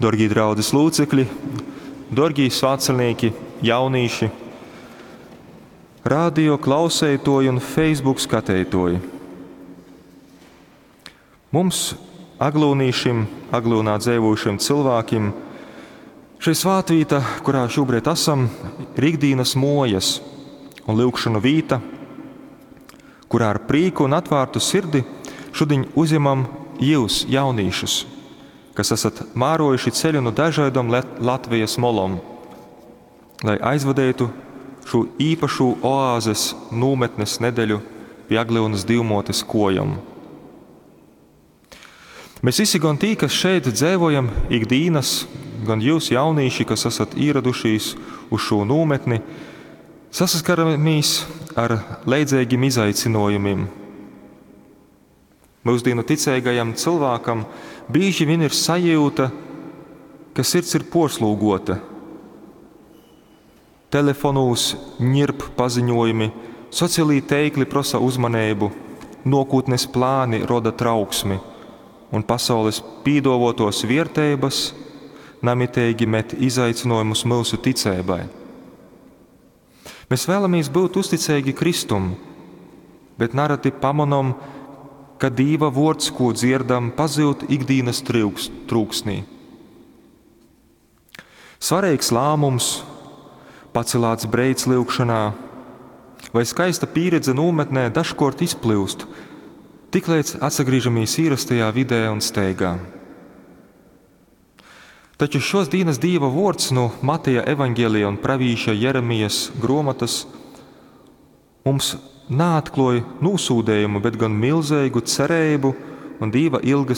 Dārgie draudzes locekļi, dārgie svētceļnieki, jaunīši, radio klausētoji un Facebook skatītoji. Mums, aglūnīšim, aglūnā dzīvojušiem cilvēkiem, šī svētvīta, kurā šobrīd esam, ir ikdienas mojas un lūgšanu vīta, kurā ar prīku un atvērtu sirdi šodien uzņemam jūs, jaunīšus, kas esat mārojuši ceļu no dažādām Latvijas molom, lai aizvadītu šo īpašo oāzes nometnes nedeļu pie Agliunas divmotes kojam. Mēs visi gan tī, kas šeit dzīvojam ikdienas, gan jūs jaunīši, kas esat ieradušies uz šo nometni, sasaskaramies ar leidzīgiem izaicinājumiem. Mūsdienu ticīgajam cilvēkam bieži vien ir sajūta, ka sirds ir porslūgota. Telefonūs ņirp paziņojumi, sociālī teikli prosa uzmanību, nokūtnes plāni roda trauksmi, un pasaules pīdovotos viertības namitīgi met izaicinājumus mūsu ticībai. Mēs vēlamies būt uzticīgi Kristum, bet nereti pamanām, ka Dīva vārds, ko dzirdam, pazūd ikdienas trūksnī. Svarīgs lēmums, pacelāts breids lūgšanā vai skaista pieredze nometnē dažkārt izplūst, tiklīdz atsagriežamies īrastajā vidē un steigā. Taču šos dienas Dieva vārds no Mateja evaņģēlija un pravīša Jeremijas grāmatas mums neatklāja nosūdējumu, bet gan milzīgu cerību un Dieva ilgas.